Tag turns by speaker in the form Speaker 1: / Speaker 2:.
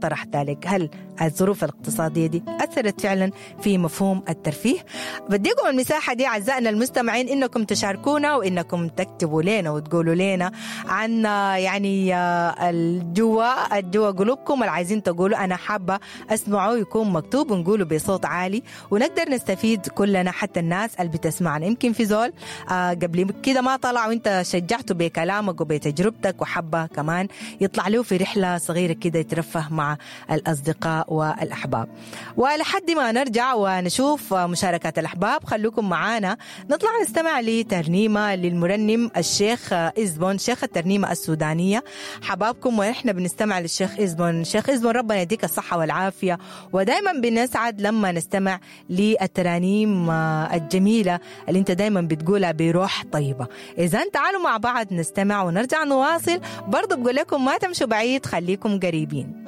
Speaker 1: طرح ذلك؟ هل الظروف الاقتصادية دي أثرت فعلا في مفهوم الترفيه؟ بديكم المساحة دي أعزائنا المستمعين إنكم تشاركونا وإنكم تكتبوا لنا وتقولوا لنا عن يعني الجوا قلوبكم اللي عايزين تقولوا أنا حابة أسمعه يكون مكتوب ونقوله بصوت عالي ونقدر نستفيد كلنا، حتى الناس اللي بتسمعنا. يمكن في زول قبل كده ما طلع وانت شجعته بكلامك وبتجربتك وحبة كمان يطلع له في رحلة صغيرة كده يترفه مع الأصدقاء والأحباب. ولحد ما نرجع ونشوف مشاركات الأحباب خلوكم معانا نطلع نستمع لترنيمة للمرنم الشيخ إزبون، شيخ الترنيمة السودانية. حبابكم ونحن بنستمع للشيخ إزبون. شيخ إزبون ربنا يديك الصحة والعافية، ودايما بنسعد لما نستمع للترانيم الجميلة اللي انت دايما بتقولها بروح طيبة. إذا تعالوا مع بعض نستمع ونرجع نواصل. برضو بقول لكم ما تمشوا بعيد، خليكم قريبين.